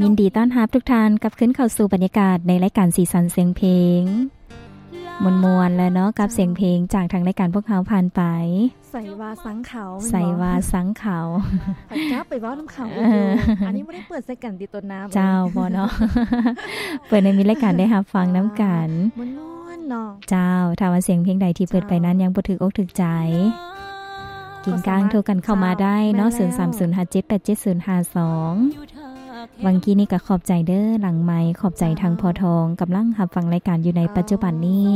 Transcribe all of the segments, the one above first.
ຍິນດີຕ້ອນຮັບທຸກທ່ານກັບຄືນເຂົ້າສູ່ບັນຍາກາດໃນລາຍການສີສັນສຽງເພງ ມ່ວນໆ ແລ້ວເນາະ ກັບສຽງເພງຈາກທາງລາຍການພວກເຮົາຜ່ານໄປ. ໃສວ່າສັງເຂົາ ໃສວ່າສັງເຂົາ ຂ້ອຍກັບໄປເວົ້ານຳເຂົາອີກຢູ່. ອັນນີ້ບໍ່ໄດ້ເປີດໃສ່ກັນຕິ ຕົ້ນນ້ຳ. ເຈົ້າ ບໍ່ເນາະ ເປີດໃຫ້ມີລາຍການໄດ້ຮັບຟັງນຳກັນ ມ່ວນໆ ເນາະ. ເຈົ້າ ຖ້າວ່າສຽງເພງໃດທີ່ເປີດໄປນັ້ນຍັງບໍ່ຖືກອົກຖືກໃຈ ກິນກ້າງໂທກັນເຂົ້າມາໄດ້ເນາະ ສູນສາມສູນຫ້າເຈັດແປດເຈັດສູນຫ້າສອງ. ຫວ່າງກີ້ນີ້ກໍຂອບໃຈເດີ ຫຼັງໄມຂອບໃຈທາງພໍ່ທອງ ກຳລັງຮັບຟັງລາຍການຢູ່ໃນປັດຈຸບັນນີ້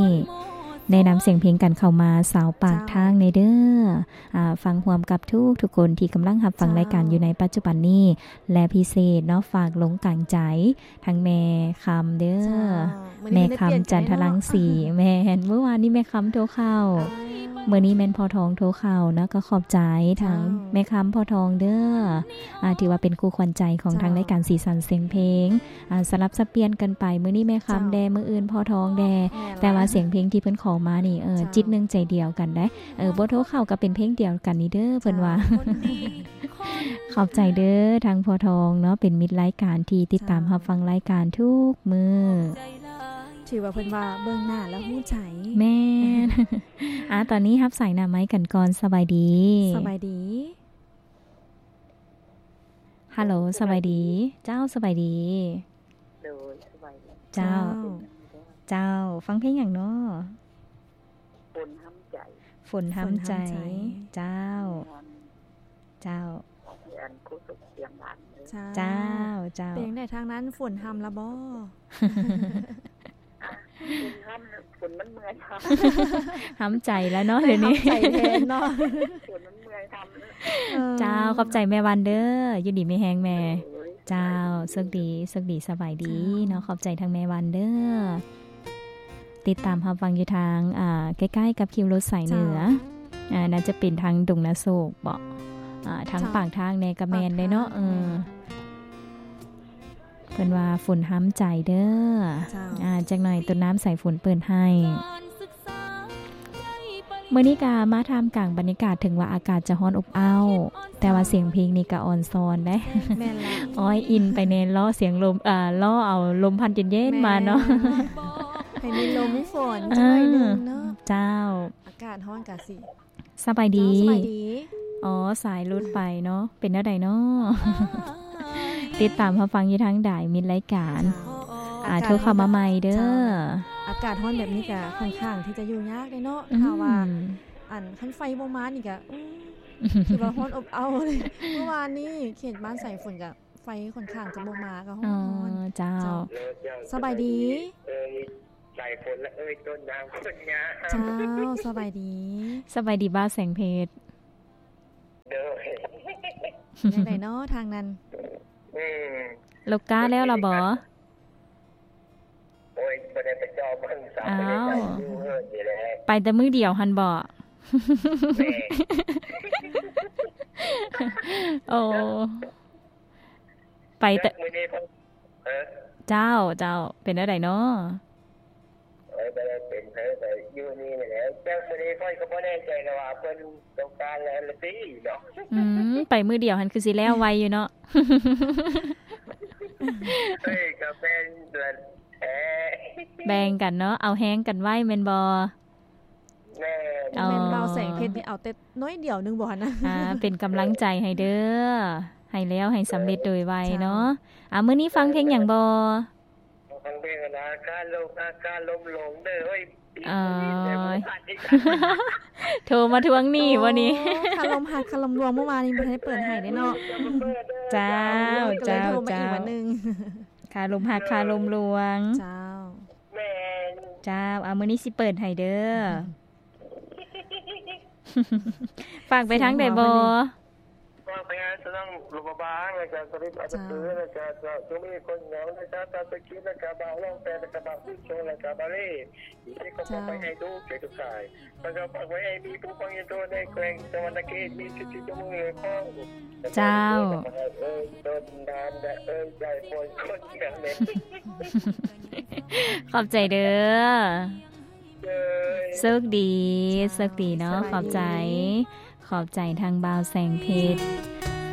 ແນະນຳສຽງເພງກັນເຂົ້າມາຊາວປາກທາງແດ່ເດີ. ອາ ຟັງຮ່ວມກັບທຸກໆຄົນທີ່ກຳລັງຮັບຟັງລາຍການຢູ່ໃນປັດຈຸບັນນີ້ ແລະ ພິເສດເນາະ ຝາກລົງກາງໃຈ ທັງແມ່ຄຳເດີ ເຈົ້າ ແມ່ຄຳ ຈັນທະລັງສີ. ແມ່ນ ມື້ວານນີ້ແມ່ຄຳໂທເຂົ້າ ມື້ນີ້ແມ່ນພໍ່ທອງໂທເຂົ້າເນາະ ກໍຂອບໃຈທັງແມ່ຄຳ ພໍ່ທອງເດີ ອາ ຖືວ່າເປັນຄູ່ຂວັນໃຈຂອງທາງລາຍການສີສັນສຽງເພງ ອາ ສະຫຼັບສັບປ່ຽນກັນໄປ ມື້ນີ້ແມ່ຄຳແດ່ ມື້ອື່ນພໍ່ທອງແດ່ ແຕ່ວ່າສຽງເພງທີ່ເພິ່ນຂໍມານີ້ ເອີ ຈິດໜຶ່ງໃຈດຽວກັນເດ້. ເອີ ບໍ່ໂທເຂົ້າກໍເປັນເພງດຽວກັນນີ້ເດີ ເພິ່ນວ່າ. ຂອບໃຈເດີ ທາງພໍ່ທອງເນາະ ເປັນມິດລາຍການທີ່ຕິດຕາມຮັບຟັງລາຍການທຸກມື້. ຖືວ່າເພິ່ນວ່າເບິ່ງໜ້າແລ້ວຮູ້ໃຈ. ແມ່ນ. ອາ ຕອນນີ້ຮັບສາຍໜ້າໄມ້ກັນກ່ອນ. ສະບາຍດີ. ສະບາຍດີ. ຮັລໂຫຼ ສະບາຍດີ. ເຈົ້າ ສະບາຍດີ. ໂດຍ ສະບາຍດີ. ເຈົ້າ. ເຈົ້າ. ເຈົ້າ ຟັງເພງຫຍັງເນາະ? ຝົນຫ້ຳໃຈ. ຝົນຫ້ຳໃຈ. ຝົນຫ້ຳໃຈ. ເຈົ້າ. ແມ່ນ. ເຈົ້າ. ອັນໂຄສົກສຽງຫຼານເດີ. ເຈົ້າ. ເຈົ້າ ເຈົ້າ. ເປັນຈັ່ງໃດທາງນັ້ນ ຝົນຫ້ຳລະບໍ່? ຝົນຫ້ຳ ຝົນມັນເມື່ອຍ ຫ້ຳໃຈແລ້ວເນາະ ດຽວນີ້ ຫ້ຳໃຈແທນເນາະ ຝົນມັນເມື່ອຍ ຫ້ຳ. ເອີ ເຈົ້າ ຂອບໃຈແມ່ວັນເດີ ຢູ່ດີມີແຮງແມ່. ໂດຍ. ເຈົ້າ ໂຊກດີ ໂຊກດີ ສະບາຍດີເນາະ. ເຈົ້າ. ຂອບໃຈທາງແມ່ວັນເດີ ຕິດຕາມຮັບຟັງຢູ່ທາງ ອ່າ ໃກ້ໆກັບຄິວລົດສາຍເໜືອ. ເຈົ້າ. ອ່າ ໜ້າຈະເປັນທາງດົງນາໂສກເບາະ ອ່າ ທາງປາກທາງແດ່ກໍແມ່ນເດ້ເນາະ. ເອີ ເພິ່ນວ່າຝົນຫ້ຳໃຈເດີ. ເຈົ້າ. ອ່າ ຈັກໜ່ອຍຕົ້ນນ້ຳສາຍຝົນເປີດໃຫ້. ມື້ນີ້ກະມາທ່າມກາງບັນຍາກາດ ເຖິງວ່າອາກາດຈະຮ້ອນອົບເອົ້າ ແຕ່ວ່າສຽງເພງນີ້ກະອ່ອນຊອນເດ້. ແມ່ນລະ. ໂອ້ຍ ອິນໄປແນ່ ລໍສຽງລົມ ເອີ ລໍເອົາລົມພັດເຢັນໆມາເນາະ. ແມ່ນ. ໃຫ້ມີລົມມີຝົນຈັກໜ້ອຍໜຶ່ງເນາະ. ເອີ ເຈົ້າ. ອາກາດຮ້ອນກະຊິ ສະບາຍດີ. ເຈົ້າ ສະບາຍດີ. ອໍ ສາຍຫຼຸດໄປເນາະ ເປັນແນວໃດເນາະ? ຕິດຕາມຮັບຟັງຢູ່ທາງໃດ ມິດລາຍການ. ເຈົ້າ. ອາ ໂທເຂົ້າມາໃໝ່ເດີ. ເຈົ້າ. ອາກາດຮ້ອນແບບນີ້ກະຂ້ອນຂ້າງທີ່ຈະຢູ່ຍາກເດ້ເນາະ. ອືມ. ຖ້າວ່າ ອັນ ຄັນໄຟບໍ່ມານີ້ກະ ອື ຖືວ່າຮ້ອນອົບເອົ້າເລີຍ. ເມື່ອວານນີ້ເຂດບ້ານສາຍຝົນກະ ໄຟຂ້ອນຂ້າງຈະບໍ່ມາກໍຮ້ອນ. ອໍ ເຈົ້າ. ເຈົ້າ ສະບາຍດີ. ເອີຍ ສາຍຝົນລະເອີຍ ຕົ້ນນ້ຳຄົນງາມ. ເຈົ້າ ສະບາຍດີ. ສະບາຍດີບ່າວແສງເພັດ. ໂດຍ. ຈັ່ງໃດເນາະທາງນັ້ນ? ອືມ. ລູກຄ້າແລ້ວລະບໍ່? ໂອ້ຍ ບໍ່ໄດ້ໄປເຈາະເບິ່ງ. ອ້າວ ຢູ່ເຮືອນນີ້ແຫຼະ. ໄປແຕ່ມື້ດຽວຫັ້ນບໍ່? ແມ່ນ. ໂອ້ ໄປແຕ່ມື້ນີ້ເພິ່ນ ເອີ ເຈົ້າ ເຈົ້າ ເປັນແນວໃດເນາະ? ໂອ້ຍ ບໍ່ໄດ້ເປັນໃຜ ໄປຢູ່ນີ້ແຫຼະ. ຈັກມື້ນີ້ຂ້ອຍກໍບໍ່ແນ່ໃຈແລ້ວວ່າເພິ່ນຕ້ອງການແລ້ວລະຕິເນາະ. ອືມ ໄປມື້ດຽວຫັ້ນຄືຊິແລ້ວໄວຢູ່ເນາະ. ເອີຍ ກໍແມ່ນແຫຼະ. ແບ່ງກັນເນາະ ເອົາແຮງກັນໄວ້ແມ່ນບໍ່? ແມ່ນ. ອໍ ແມ່ນບ່າວແສງເພັດນີ້ເອົາແຕ່ໜ້ອຍດຽວໜຶ່ງບໍ່ຫັ້ນນະ? ອ່າ ເປັນກຳລັງໃຈໃຫ້ເດີ ໃຫ້ແລ້ວໃຫ້ສຳເລັດໂດຍໄວເນາະ. ເຈົ້າ. ອ່າ ມື້ນີ້ຟັງເພງຫຍັງບໍ່? ຟັງເພງອັນ ອາກາດລົມ ອາກາດລົມຫຼວງເດີ. ໂອ້ຍ ໂທມາທວງໜີ້ບໍ່ນີ້? ໂອ້ ຄາລົມຮັກຄາລົມລວງ ເມື່ອວານນີ້ບໍ່ທັນໄດ້ເປີດໃຫ້ເດ້ເນາະ. ເຈົ້າ ເຈົ້າ ເຈົ້າ. ຄາລົມຮັກຄາລົມລວງ. ເຈົ້າ. ແມ່ນ. ເຈົ້າ ເອົາ ມື້ນີ້ຊິເປີດໃຫ້ເດີ. ຝາກໄປທາງໃດບໍ່? ຝາກໄປຫາສະໜອງຫຼວງພະບາງ ແລ້ວກະສະເດັດອາດຕະປື ເຈົ້າ ແລ້ວກະເຈົ້າ ເຈົ້າມີຄົນເຫງົາ ແລ້ວກະເຈົ້າສະກິດ ແລ້ວກະບ່າວລອງແປ ແລ້ວກະບ່າວສຸດໂຊ ແລ້ວກະບ່າວເລ ທີ່ກໍຝາກໄວ້ໃຫ້ລູກເຈົ້າທຸກສາຍ ແລ້ວກໍຝາກໄວ້ໃຫ້ມີຜູ້ຟັງຢູ່ທົ່ວໃນແຂວງສະຫວັນນະເຂດ ມີສິດທິຕົວເມືອງເລີຍຂອງ ເຈົ້າ. ເອີຍ ຕົ້ນນ້ຳ ແລະ ເອີຍ ໃຈຝົນຄົນງາມ. ຂອບໃຈເດີ. ໂຊກດີ ໂຊກດີເນາະ. ຂອບໃຈ ຂອບໃຈທາງບ່າວແສງເພັດ.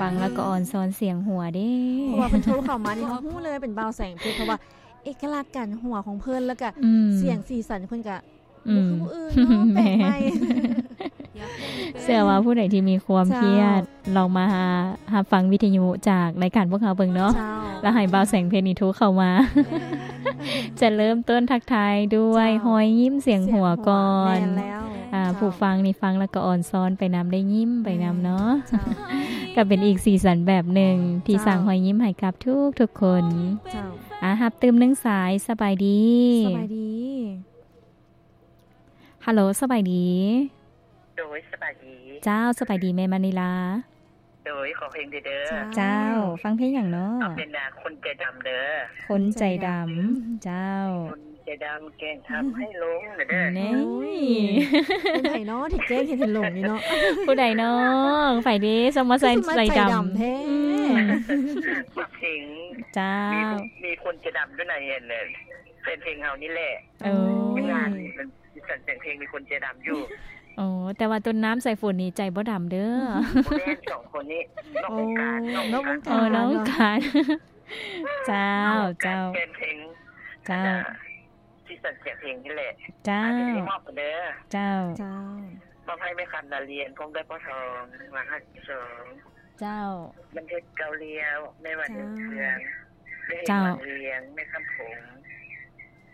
ຟັງແລ້ວກໍອ່ອນຊອນສຽງຫົວເດ້ ເພາະວ່າເພິ່ນໂທເຂົ້າມານີ້ ເຮົາຮູ້ເລີຍເປັນບ່າວແສງເພັດ ເພາະວ່າເອກະລັກການຫົວຂອງເພິ່ນ ແລ້ວກະ ອືມ ສຽງສີສັນເພິ່ນກະ ອືມ ບໍ່ຄືຜູ້ອື່ນເນາະ ແປກໃໝ່ ເຊື່ອວ່າຜູ້ໃດທີ່ມີຄວາມຄຽດ ເຈົ້າ ລອງມາຮັບຟັງວິທະຍຸຈາກລາຍການພວກເຮົາເບິ່ງເນາະ ເຈົ້າ ແລ້ວໃຫ້ບ່າວແສງເພັດນີ້ໂທເຂົ້າມາ ຈະເລີ່ມຕົ້ນທັກທາຍດ້ວຍ ເຈົ້າ ຮອຍຍິ້ມສຽງຫົວກ່ອນ ແມ່ນແລ້ວ ອ່າ ເຈົ້າ ຜູ້ຟັງນີ້ຟັງແລ້ວກໍອ່ອນຊອນໄປນຳ ໄດ້ຍິ້ມໄປນຳເນາະ ເຈົ້າ ກໍເປັນອີກສີສັນແບບໜຶ່ງທີ່ ເຈົ້າ ສ້າງຮອຍຍິ້ມໃຫ້ກັບທຸກໆຄົນ ເຈົ້າ ອ່າ ຮັບຕື່ມໜຶ່ງສາຍ ສະບາຍດີ ສະບາຍດີ ຮັລໂຫຼ ສະບາຍດີ ໂດຍ ສະບາຍດີ ເຈົ້າ ສະບາຍດີແມ່ມະນີລາ ໂດຍ ຂໍເພງເດີ ເຈົ້າ ເຈົ້າ ຟັງເພງຫຍັງເນາະ ເອົາເປັນ ອ່າ ຄົນໃຈດຳເດີ ຄົນໃຈດຳ ເຈົ້າ ຄົນໃຈດຳແກ້ງທຳໃຫ້ຫຼົງເດີ ນີ້ ໂອ້ຍ ຜູ້ໃດເນາະທີ່ແກ້ງເຮັດໃຫ້ຫຼົງນີ້ເນາະ ຜູ້ໃດເນາະ ໃຜເດ້ ສະມາໃຈ ໃຈດຳແທ້ ອືມ ເພງ ເຈົ້າ ມີ ມີຄົນໃຈດຳຢູ່ໃນ ອັນ ແຟນເພງເຮົານີ້ແຫຼະ ໂອ້ຍ ງານນີ້ມັນ ສັນແສງເພງມີຄົນໃຈດຳຢູ່ ໂອ້ ແຕ່ວ່າຕົ້ນນ້ຳສາຍຝົນນີ້ໃຈບໍ່ດຳເດີ ບໍ່ແມ່ນ ສອງຄົນນີ້ນອກວົງການ ໂອ້ ນອກວົງການ ນອກວົງການ ເຈົ້າ ເຈົ້າ ແຟນເພງ ເຈົ້າ ສີສັນສຽງເພງນີ້ແຫຼະ ເຈົ້າ ມອບເດີ ເຈົ້າ ເຈົ້າ ມອບໃຫ້ແມ່ຄຳນາລຽນ ພ້ອມດ້ວຍພໍ່ທອງ ມາຮັກສອງ ເຈົ້າ ບັນເທີດເກົ້າລ້ຽວ ແມ່ວັນ ເຈົ້າ ເຮືອງເຄື່ອງ ແມ່ເຮັດ ເຈົ້າ ວັງວຽງ ແມ່ຄຳຜົງ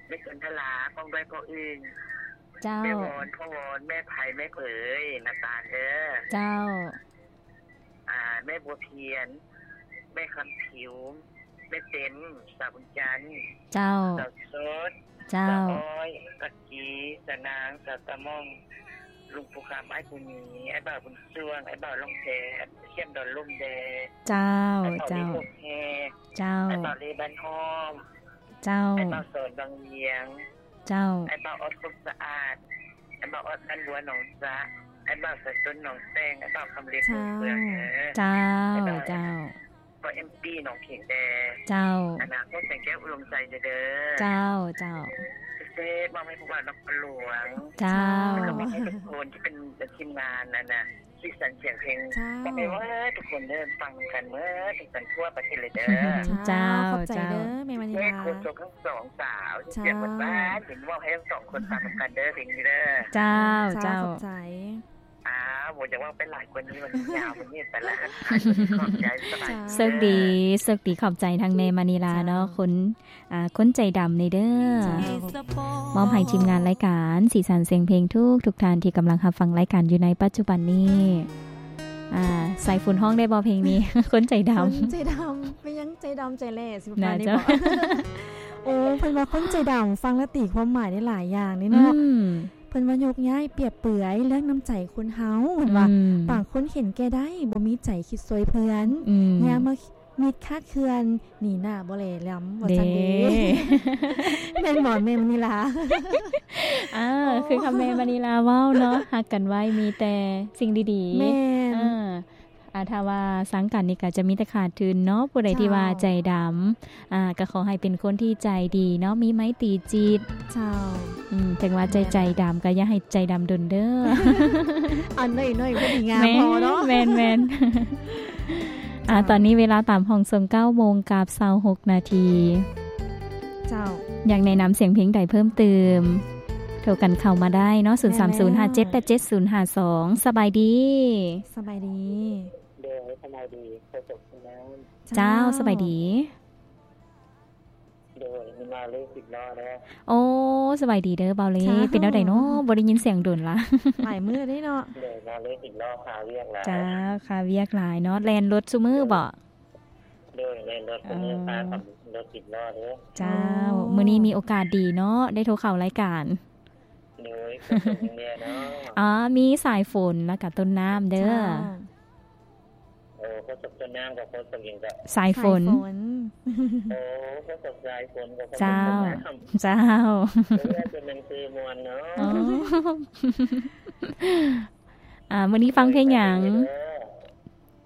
ແມ່ສຸນທະລາ ພ້ອມດ້ວຍພໍ່ອຶ່ງ ເຈົ້າ ແມ່ວອນ ພໍ່ວອນ ແມ່ໄພ ແມ່ເຜີຍ ນ້ຳຕານເດີ ເຈົ້າ ອ່າ ແມ່ບົວພຽນ ແມ່ຄຳຜິວ ແມ່ເຕັມ ສາວບຸນຈັນ ເຈົ້າ ສາວສົດ ເຈົ້າ ສາວອ້ອຍ ປັກກີ ສາວນາງ ສາວຕາມ່ອງ ລຸງປູຄຳ ອ້າຍປູມີ ອ້າຍບ່າວບຸນຊ່ວງ ອ້າຍບ່າວລ່ອງແພ ແຄມດອນລຸ່ມແດ ເຈົ້າ ອ້າຍບ່າວເລ ເຈົ້າ ໂຄກແຮ ເຈົ້າ ອ້າຍບ່າວເລບ້ານຫ້ອມ ເຈົ້າ ອ້າຍບ່າວສອນວັງວຽງ ເຈົ້າ ອ້າຍບ່າວອອດຄົນສະອາດ ອ້າຍບ່າວອອດບ້ານບົວໜອງສະ ອ້າຍບ່າວສາຍຕົ້ນໜອງແຕງ ອ້າຍບ່າວຄຳເລັດ ເຈົ້າ ເມືອງເດີ ເຈົ້າ ເຈົ້າ ພໍ່ເອັມປີ ໜອງເຂງແດ ເຈົ້າ ອະນາຄົດແສງແກ້ວອຸດົມໄຊເດີ ເຈົ້າ ເຈົ້າ ເຊບມອບໃຫ້ພວກເຮົານະຄອນຫຼວງ ເຈົ້າ ແລ້ວກໍມອບໃຫ້ທຸກຄົນທີ່ເປັນທີມງານນັ້ນນະ ສີສັນສຽງເພງ ເຈົ້າ ມອບໃຫ້ເບິດທຸກຄົນເດີ ຟັງນຳກັນເບິດທຸກຄົນທົ່ວປະເທດເລີຍເດີ ເຈົ້າ ຂອບໃຈເດີ ເຈົ້າ ແມ່ມະນີລາ ໂຄສົກທັງສອງສາວ ເຈົ້າ ສຽງຫວານໆ ເຫັນເວົ້າໃຫ້ທັງສອງຄົນຟັງນຳກັນເດີ ເພງນີ້ເດີ ເຈົ້າ ເຈົ້າ ເຈົ້າ ຂອບໃຈ ອ້າວ ບໍ່ຢາກເວົ້າໄປຫຼາຍກວ່ານີ້ ມັນຍາວ ມັນຍືດໄປລະ ຂອບໃຈ ສະບາຍດີ ເຈົ້າ ໂຊກດີ ໂຊກດີ ຂອບໃຈທາງແມ່ມະນີລາເນາະ ເຈົ້າ ຄົນ ອ່າ ຄົນໃຈດຳນີ້ເດີ ເຈົ້າ ມອບໃຫ້ທີມງານລາຍການສີສັນສຽງເພງທຸກໆທ່ານທີ່ກຳລັງຮັບຟັງລາຍການຢູ່ໃນປັດຈຸບັນນີ້ ອ່າ ສາຍຝົນຮ້ອງໄດ້ບໍ່ເພງນີ້? ຄົນໃຈດຳ ຄົນໃຈດຳ ເປັນຫຍັງໃຈດຳໃຈແຫຼ້ ຊິປະມານນີ້ບໍ? ໂອ້ ເພິ່ນວ່າຄົນໃຈດຳ ຟັງແລ້ວຕີຄວາມໝາຍໄດ້ຫຼາຍຢ່າງເດ້ເນາະ ອືມ ເພິ່ນວ່າຍົກຍ້າຍປຽບເປືອຍເລື່ອງນ້ຳໃຈຄົນເຮົາ ເພິ່ນວ່າ ອືມ ບາງຄົນເຫັນແກ່ໄດ້ ບໍ່ມີໃຈຄິດຊ່ວຍເພື່ອນ ອືມ ຍາມມາມິດຄາດເຄື່ອນ ໜີໜ້າບໍ່ແລລຳ ວ່າຊັ້ນເດ້ ແມ່ນບໍ່ແມ່ມະນີລາ? ອ່າ ໂອ້ ຄືຄຳແມ່ມະນີລາເວົ້າເນາະ ຮັກກັນໄວ້ມີແຕ່ສິ່ງດີໆ ແມ່ນ ອ່າ ອ່າ ຖ້າວ່າຊັງກັນນີ້ກໍຈະມີແຕ່ຂາດທຶນເນາະ ຜູ້ໃດທີ່ວ່າ ເຈົ້າ ໃຈດຳ ອ່າ ກໍຂໍໃຫ້ເປັນຄົນທີ່ໃຈດີເນາະ ມີໄມຕີຈິດ ເຈົ້າ ອືມ ເຖິງວ່າຈະໃຈດຳ ແມ່ນ ກໍຢ່າໃຫ້ໃຈດຳດົນເດີ ອັນໜ້ອຍໆ ພໍດີງາມພໍເນາະ ແມ່ນໆ ອ່າ ເຈົ້າ ຕອນນີ້ເວລາຕາມຫ້ອງສົ່ງເກົ້າໂມງກັບຊາວຫົກນາທີ ເຈົ້າ ຢາກແນະນຳສຽງເພງໃດເພີ່ມເຕີມ ໂທກັນເຂົ້າມາໄດ້ເນາະ ສູນສາມສູນຫ້າເຈັດແປດເຈັດສູນຫ້າສອງ ສະບາຍດີ ສະບາຍດີ ໂດຍ ສະບາຍດີ ໂຄສົກ ເຈົ້າ ເຈົ້າ ສະບາຍດີ ໂດຍ ມາເລີ ສິບລໍ້ເດີ ໂອ້ ສະບາຍດີເດີ ບ່າວເລ ເຈົ້າ ເປັນແນວໃດເນາະ ບໍ່ໄດ້ຍິນສຽງດົນລະ ຫຼາຍມື້ເດ້ເນາະ ໂດຍ ມາເລີ ສິບລໍ້ ຄາວຽກຫຼາຍ ເຈົ້າ ຄາວຽກຫຼາຍເນາະ ແລ່ນລົດຊຸມື້ບໍ? ໂດຍ ແລ່ນລົດຊຸມື້ ເອີ ຄາກັບລົດສິບລໍ້ເດີ ເຈົ້າ ໂອ້ ມື້ນີ້ມີໂອກາດດີເນາະ ໄດ້ໂທເຂົ້າລາຍການ ໂດຍ ໂຄສົກຫຍັງແດ່ເນາະ ອໍ ມີສາຍຝົນ ແລ້ວກະຕົ້ນນ້ຳເດີ ເຈົ້າ ໂອ້ ໂຄສົກຕົ້ນນ້ຳກັບໂຄສົກຫຍັງເກາະ ສາຍຝົນ ສາຍຝົນ ໂອ້ ໂຄສົກສາຍຝົນກັບໂຄສົກ ເຈົ້າ ຕົ້ນນ້ຳ ເຈົ້າ ເອີ ເປັນໜັງສືມ່ວນເນາະ ອໍ ອ່າ ມື້ນີ້ຟັງເພງຫຍັງ?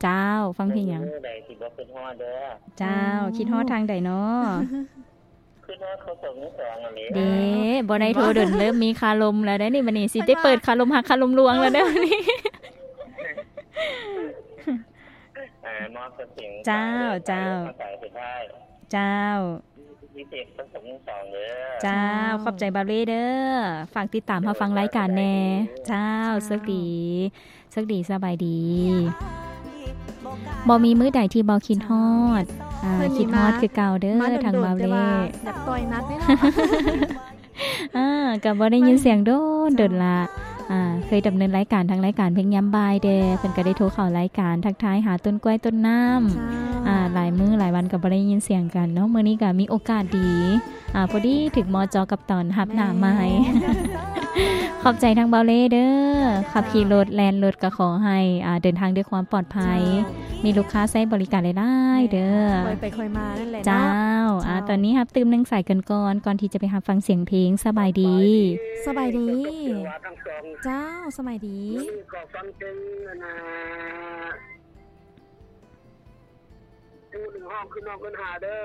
ເຈົ້າ ຟັງເພງຫຍັງ? ມື້ໃດຊິບໍ່ຄິດຮອດເດີ ເຈົ້າ ຄິດຮອດທາງໃດເນາະ? ຄິດຮອດໂຄສົກທັງສອງຫັ້ນແຫຼະ ເດ້ ບໍ່ໄດ້ໂທດົນ ເລີ່ມມີຄາລົມແລ້ວເດ້ນີ້ ບັດນີ້ຊິໄດ້ເປີດຄາລົມຮັກຄາລົມລວງແລ້ວເດ້ນີ້ ອ່າ ມອບສະເພງ ເຈົ້າ ເຈົ້າ ເຈົ້າ ເຈົ້າ ຂອບໃຈບ່າວເລເດີ ຝາກຕິດຕາມຮັບຟັງລາຍການແນ່ ເຈົ້າ ໂຊກດີ ໂຊກດີ ສະບາຍດີ. ບໍ່ມີມື້ໃດທີ່ບໍ່ຄິດຮອດ ອ່າ ຄິດຮອດຄືເກົ່າເດີ ທາງບ່າວເລ ຢາກຕ່ອຍນັດເດ້ເນາະ ອ່າ ກໍບໍ່ໄດ້ຍິນສຽງດົນ ດົນລະ ອ່າ ເຄີຍດຳເນີນລາຍການທາງລາຍການເພງຍາມບ່າຍແດ່ ເພິ່ນກໍໄດ້ໂທເຂົ້າລາຍການ ທັກທາຍຫາຕົ້ນກ້ວຍຕົ້ນນ້ຳ ອ່າ ຫຼາຍມື້ຫຼາຍວັນກໍບໍ່ໄດ້ຍິນສຽງກັນເນາະ ມື້ນີ້ກໍມີໂອກາດດີ ອ່າ ພໍດີຖືກເໝາະເຈາະກັບຕອນຮັບໜ້າໃໝ່ ຂອບໃຈທາງບ່າວເລເດີ ຂັບຂີ່ລົດແລ່ນລົດກໍຂໍໃຫ້ ອ່າ ເດີນທາງດ້ວຍຄວາມປອດໄພ ມີລູກຄ້າໃຊ້ບໍລິການຫຼາຍໆເດີ ຄ່ອຍໄປຄ່ອຍມານັ້ນແຫຼະເນາະ ເຈົ້າ ອ່າ ຕອນນີ້ຮັບຕື່ມໜຶ່ງສາຍກ່ອນ ກ່ອນທີ່ຈະໄປຮັບຟັງສຽງເພງ ສະບາຍດີ ສະບາຍດີ ເຈົ້າ ສະບາຍດີ ມື້ນີ້ຂໍຟັງເພງອັນນ່າ ໝໍ້ໜຶ່ງຮ້ອງຄືນ້ອງເອີ້ນຫາເດີ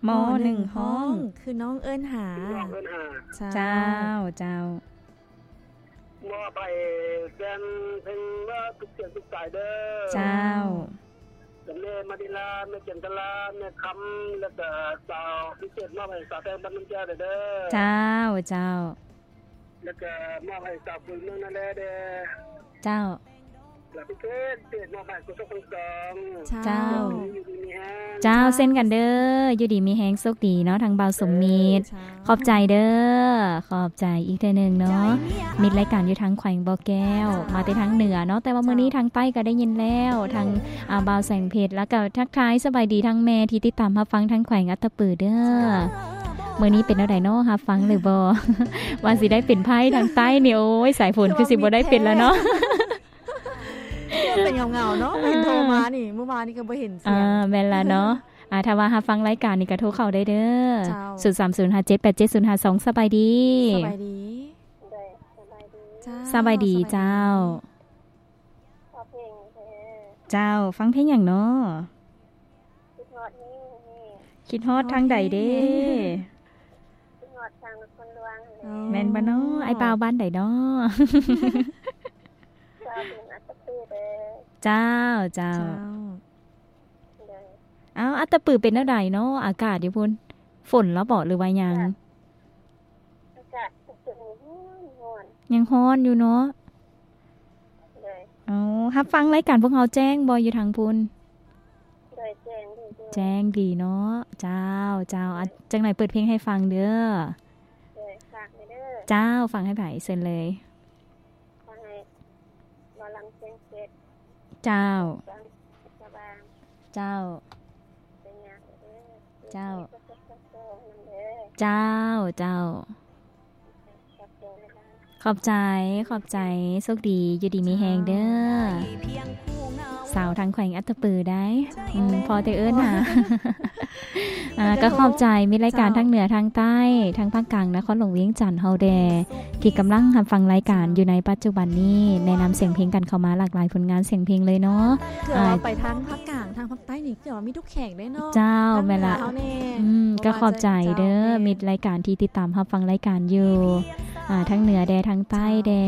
ໝໍ້ໜຶ່ງຮ້ອງຄືນ້ອງເອີ້ນຫາ ເຈົ້າ ເຈົ້າ ມອບໃຫ້ແຟນເພງວ່າທຸກສຽງທຸກສາຍເດີ ເຈົ້າ ແມ່ມະນີລາ ແມ່ຈັນທະລາ ແມ່ຄຳ ແລ້ວກະສາວພິເສດ ມອບໃຫ້ສາວແພງບ້ານນາແກ້ວເດີ ເຈົ້າ ເຈົ້າ ແລ້ວກະມອບໃຫ້ສາວປຸຍເມືອງນາແລເດີ ເຈົ້າ ແລ້ວພິເສດ ມອບໃຫ້ຄູ່ສົກທັງສອງ ເຈົ້າ ຢູ່ດີມີແຮງ ເຈົ້າ ເຊັ່ນກັນເດີ ຢູ່ດີມີແຮງ ໂຊກດີເນາະ ທາງບ່າວສົມມິດ ເຈົ້າ ຂອບໃຈເດີ ຂອບໃຈອີກເທື່ອໜຶ່ງເນາະ ມິດລາຍການຢູ່ທາງແຂວງບໍ່ແກ້ວ ມາແຕ່ທາງເໜືອເນາະ ແຕ່ວ່າມື້ນີ້ທາງໃຕ້ກໍໄດ້ຍິນແລ້ວ ທາງ ອ່າ ບ່າວແສງເພັດ ແລ້ວກໍທັກທາຍສະບາຍດີທາງແມ່ທີ່ຕິດຕາມຮັບຟັງທາງແຂວງອັດຕະປືເດີ ມື້ນີ້ເປັນແນວໃດເນາະ ຮັບຟັງຫຼືບໍ່ ວ່າຊິໄດ້ເປັນໄພທາງໃຕ້ນີ້ ໂອ້ຍ ສາຍຝົນຄືຊິບໍ່ໄດ້ເປັນແລ້ວເນາະ ເປັນເຫງົາໆເນາະ ເຫັນໂທມານີ້ ມື້ວານນີ້ກໍບໍ່ເຫັນສຽງ ອ່າ ແມ່ນລະເນາະ ອ່າ ຖ້າວ່າຮັບຟັງລາຍການນີ້ກໍໂທເຂົ້າໄດ້ເດີ ເຈົ້າ ສູນສາມສູນຫ້າເຈັດແປດເຈັດສູນຫ້າສອງ ສະບາຍດີ ສະບາຍດີ ສະບາຍດີເຈົ້າ ເຈົ້າ ຟັງເພງຫຍັງເນາະ ຄິດຮອດແຮງ ຄິດຮອດທາງໃດເດ້ ຄິດຮອດທາງນະຄອນຫຼວງ ອໍ ແມ່ນບໍ່ເນາະ ອ້າຍບ່າວບ້ານໃດເນາະ ເຈົ້າ ເຈົ້າ ເຈົ້າ ເຈົ້າ ເອົາ ອັດຕະປືເປັນແນວໃດເນາະ ອາກາດຢູ່ພຸ້ນ ຝົນລະເບາະ ຫຼືວ່າຫຍັງ ອາກາດ ອາກາດຍັງຮ້ອນ ຍັງຮ້ອນຢູ່ເນາະ ໂດຍ ເອົາ ຮັບຟັງລາຍການພວກເຮົາແຈ້ງບໍ່ຢູ່ທາງພຸ້ນ ໂດຍ ແຈ້ງດີ ແຈ້ງດີເນາະ ເຈົ້າ ເຈົ້າ ໂດຍ ອາ ຈັ່ງໃດເປີດເພງໃຫ້ຟັງເດີ ໂດຍ ຝາກແດ່ເດີ ເຈົ້າ ຝາກໃຫ້ໃຜ ເຊີນເລີຍ ຂໍໃຫ້ໝໍລຳສຽງເພັດ ເຈົ້າ ເຈົ້າ ເຈົ້າ ເຈົ້າ ເຈົ້າ ຂອບໃຈ ຂອບໃຈ ໂຊກດີ ຢູ່ດີມີແຮງເດີ ສາວທາງແຂວງອັດຕະປືໄດ໋ ພໍແຕ່ເອີ້ນຫາ ອ່າ ກໍຂອບໃຈມິດລາຍການ ເຈົ້າ ທາງເໜືອ ທາງໃຕ້ ທາງພາກກາງ ນະຄອນຫຼວງວຽງຈັນເຮົາແດ່ ທີ່ກຳລັງຮັບຟັງລາຍການ ເຈົ້າ ຢູ່ໃນປັດຈຸບັນນີ້ ແນະນຳສຽງເພງກັນເຂົ້າມາຫຼາກຫຼາຍຜົນງານສຽງເພງເລີຍເນາະ ເອີ ອ່າ ໄປທາງພາກກາງ ທາງພາກໃຕ້ນີ້ ຄືວ່າມີທຸກແຂວງເດ້ເນາະ ເຈົ້າ ແມ່ນລະ ອືມ ກໍຂອບໃຈເດີ ມິດລາຍການທີ່ຕິດຕາມຮັບຟັງລາຍການຢູ່ ອ່າ ທາງເໜືອແດ່ ທາງໃຕ້ແດ່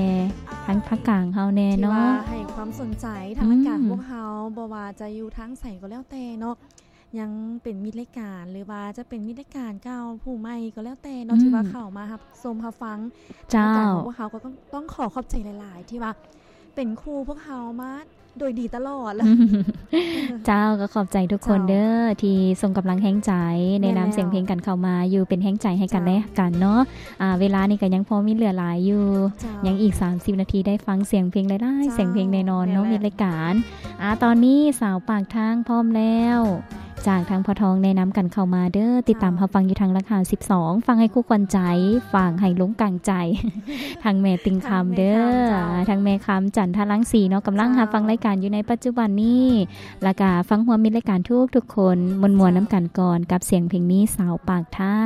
ທາງພາກກາງເຮົາແດ່ເນາະ ທີ່ວ່າໃຫ້ຄວາມສົນໃຈທາງລາຍການ ອືມ ພວກເຮົາ ບໍ່ວ່າຈະຢູ່ທາງໃສກໍແລ້ວແຕ່ເນາະ ຍັງເປັນມິດລາຍການ ຫຼືວ່າຈະເປັນມິດລາຍການເກົ່າ ຜູ້ໃໝ່ກໍແລ້ວແຕ່ເນາະ ອືມ ທີ່ວ່າເຂົ້າມາຮັບຊົມຮັບຟັງ ເຈົ້າ ລາຍການຂອງພວກເຮົາ ກໍຕ້ອງ ຕ້ອງຂໍຂອບໃຈຫຼາຍໆ ທີ່ວ່າເປັນຄູ່ພວກເຮົາມາໂດຍດີຕະຫຼອດ ເຈົ້າ ກໍຂອບໃຈທຸກຄົນເດີ ເຈົ້າ ທີ່ສົ່ງກຳລັງແຮງໃຈ ແນະນຳ ແມ່ນແລ້ວ ສຽງເພງກັນເຂົ້າມາຢູ່ ເປັນແຮງໃຈໃຫ້ກັນ ເຈົ້າ ແລະກັນເນາະ ອ່າ ເວລານີ້ກໍຍັງພໍມີເຫຼືອຫຼາຍຢູ່ ເຈົ້າ ຍັງອີກສາມສິບນາທີໄດ້ຟັງສຽງເພງຫຼາຍໆ ເຈົ້າ ສຽງເພງແນ່ນອນເນາະ ແມ່ນແຫຼະ ມິດລາຍການ ອ່າ ຕອນນີ້ສາວປາກທາງພ້ອມແລ້ວ ຈາກທາງພໍ່ທອງແນະນຳກັນເຂົ້າມາເດີ ຕິດຕາມ ເຈົ້າ ຮັບຟັງຢູ່ທາງລະຄາສິບສອງ ຟັງໃຫ້ຄູ່ຂວັນໃຈ ຟັງໃຫ້ລົງກາງໃຈ ທາງແມ່ຕິງຄຳເດີ ທາງແມ່ຄຳ ເຈົ້າ ທາງແມ່ຄຳ ຈັນທະລັງສີເນາະ ກຳລັງ ເຈົ້າ ຮັບຟັງລາຍການຢູ່ໃນປັດຈຸບັນນີ້ ລະກະຟັງຮ່ວມມິດລາຍການທຸກໆຄົນ ມ່ວນໆນຳກັນກ່ອນ ເຈົ້າ ກັບສຽງເພງນີ້ ສາວປາກທາງ